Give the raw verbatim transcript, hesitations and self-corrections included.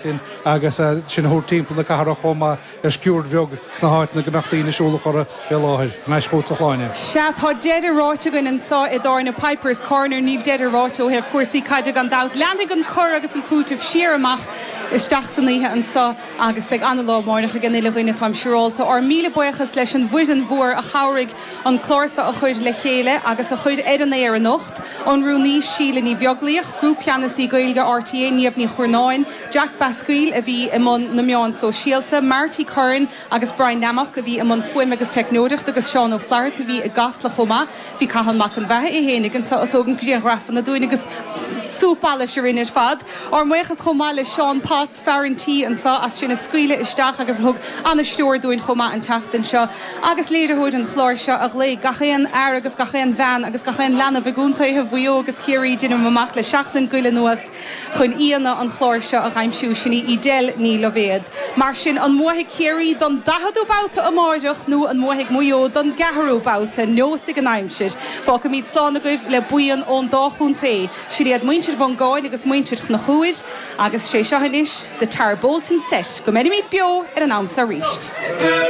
sin agus sin a thabhairt timpeall na cathrach chomh maith ar sciuird bheag sna háiteanna go mbeadh daoine ag siúl a chora fé láthair. Thar n-ais chugat a Shláine. Sea, tá deireadh ráite againn anseo i dtábhairne Pipers Corner, níl deireadh ráite ó thaobh cúrsaí caide gan dabht. Leanfaidh an cur agus an cúiteamh siar amach isteach san oíche anseo agus beidh an-lá amárach ag an uile dhuine táim siúrálta. Ár míle buíochas leis an bhfoireann mhór a chabhraigh an clár seo a chur le chéile agus a chur ar an aer anocht, an Rúnaí Síle Ní Bheaglaoich, Grúpcheannasaí Gaeilge RTÉ Niamh Ní Churnáin, Jack Basquille a bhí i mbun na meán sóisialta, Marty Curran agus Brian Nammock a bhí i mbun fuaime agus teicneoireachta agus Seán Ó Flatharta a bhí i gCasla chomh maith. Bhí Cathal Mac an Bheatha é fhéinig anseo ag tógaint grianghrafanna dúinn agus súp allais orainn ar fad. Ár mbuíochas chomh maith le Seán Potts, fear an tí anseo as sinn a scaoileadh isteach agus a thug an-stiúir dúinn chomh maith an tseachtain seo. Agus léiritheoir an chláir seo a ghlaoigh gach aon fhear agus gach aon bhean agus gach aon leanbh i gcontaetha Mhaigh Eo agus Chiarraí déanaim amach le seachtain go leith anuas chun aíonna an chláir seo a aimsiú sin í Edel Ní Loibhéad. Mar sin an mbuafaidh Ciarraí don daicheadú babhta amárach nó an mbuafaidh Maigh Eo don gceathrú babhta neosfaidh an aimsir. Fágfaimid slán agaibh le buíon ón dá chontae, sin iad muintir Mhongáin agus muintir Chonchúir, agus sé seo anois The Tarbolton Set go mbeirimid beo ar an am seo arís.